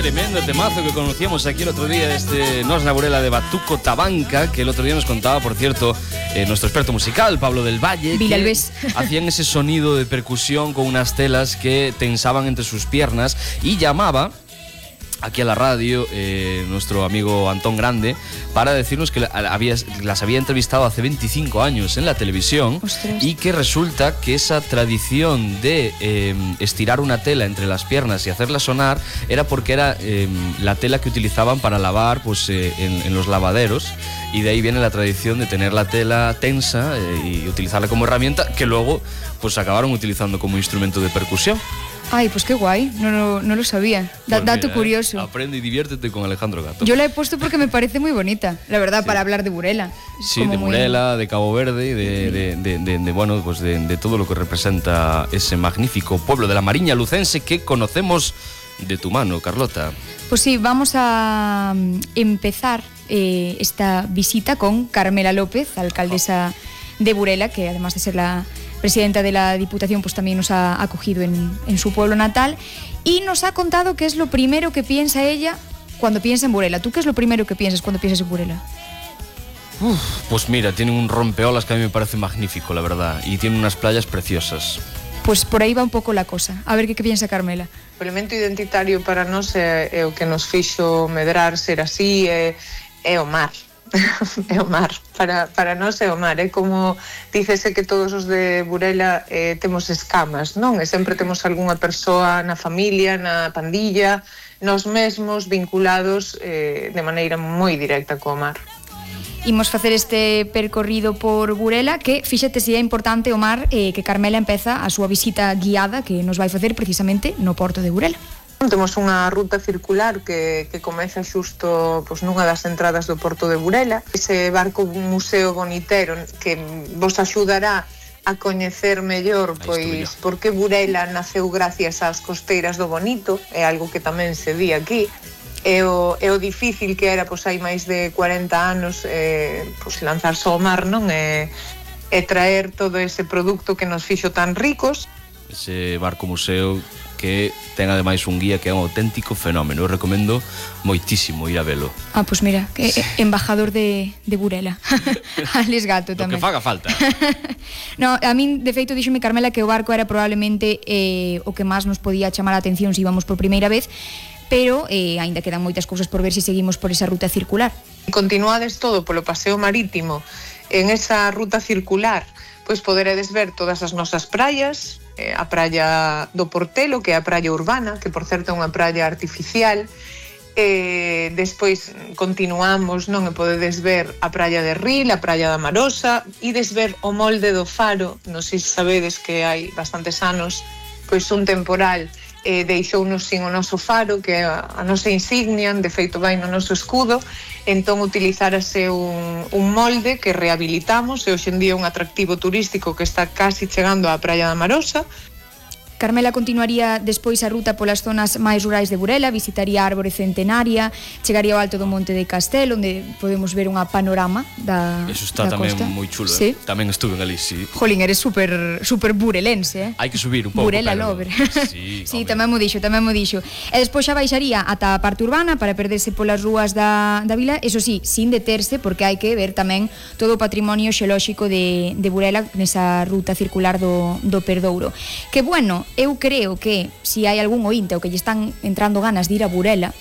Tremendo temazo que conocíamos aquí el otro día, Nos na Burela de Batuco Tabanca, que el otro día nos contaba, por cierto, nuestro experto musical, Pablo del Valle, que hacían ese sonido de percusión con unas telas que tensaban entre sus piernas, y llamaba aquí a la radio nuestro amigo Antón Grande para decirnos que las había entrevistado hace 25 años en la televisión. Ostras. Y que resulta que esa tradición de estirar una tela entre las piernas y hacerla sonar era porque era la tela que utilizaban para lavar pues, en los lavaderos, y de ahí viene la tradición de tener la tela tensa y utilizarla como herramienta, que luego pues acabaron utilizando como instrumento de percusión. Ay, pues qué guay, no lo sabía. Pues dato mira, curioso. Aprende y diviértete con Alejandro Gato. Yo la he puesto porque me parece muy bonita, la verdad, sí. Para hablar de Burela. Sí, de Burela, de Cabo Verde y de todo lo que representa ese magnífico pueblo de la Mariña lucense que conocemos de tu mano, Carlota. Pues sí, vamos a empezar esta visita con Carmela López, alcaldesa de Burela, que además de ser la presidenta de la Diputación, pues también nos ha acogido en su pueblo natal, y nos ha contado qué es lo primero que piensa ella cuando piensa en Burela. ¿Tú qué es lo primero que piensas cuando piensas en Burela? Pues mira, tiene un rompeolas que a mí me parece magnífico, la verdad, y tiene unas playas preciosas. Pues por aí va un pouco la cosa. A ver que piensa Carmela. O elemento identitario para nós é o que nos fixo medrar ser así, é o mar. É o mar, para nós é o mar, é como dícese que todos os de Burela temos escamas, non? E sempre temos algunha persoa na familia, na pandilla, nós mesmos vinculados de maneira moi directa co mar. Imos facer este percorrido por Burela, que fíxate se é importante o mar, que Carmela empeza a súa visita guiada que nos vai facer precisamente no porto de Burela. Temos unha ruta circular que comeza xusto pois, nunha das entradas do porto de Burela. Ese barco museo bonitero que vos axudará a coñecer mellor pois por que Burela naceu gracias ás costeiras do Bonito, é algo que tamén se di aquí. É o difícil que era pois, hai máis de 40 anos pois, lanzarse ao mar, non? E traer todo ese produto que nos fixo tan ricos. Ese barco museo que ten ademais un guía que é un auténtico fenómeno. Eu recomendo moitísimo ir a velo. Pois mira, que embajador de Burela. Ales Gato tamén. O que faga falta. No, a min, de feito, díxome Carmela que o barco era probablemente o que máis nos podía chamar a atención se íbamos por primeira vez, pero aínda quedan moitas cousas por ver se seguimos por esa ruta circular. Continuades todo polo paseo marítimo en esa ruta circular, pois poderedes ver todas as nosas praias, a praia do Portelo, que é a praia urbana, que por certo é unha praia artificial. Despois continuamos, non? E podedes ver a praia de Ril, a praia da Marosa, ides ver o molde do faro. Non sei se sabedes que hai bastantes anos pois un temporal deixounos sin o noso faro, que é a nosa insignia, de feito vai no noso escudo. Entón utilizarase un molde que rehabilitamos e hoxe en día é un atractivo turístico que está casi chegando á praia da Marosa. Carmela continuaría despois a ruta polas zonas máis rurais de Burela, visitaría a Árbore Centenaria, chegaría ao alto do Monte de Castel, onde podemos ver unha panorama da costa. Eso está tamén moi chulo, sí. Tamén estuve ali, sí. Jolín, eres super burelense, Hai que subir un pouco. Burela lover. Sí, tamén mo dixo. E despois xa baixaría ata a parte urbana para perderse polas rúas da vila, eso sí, sin deterse, porque hai que ver tamén todo o patrimonio xeolóxico de Burela nesa ruta circular do Perdouro. Que bueno, eu creo que se hai algún ointe ou que lle están entrando ganas de ir a Burela,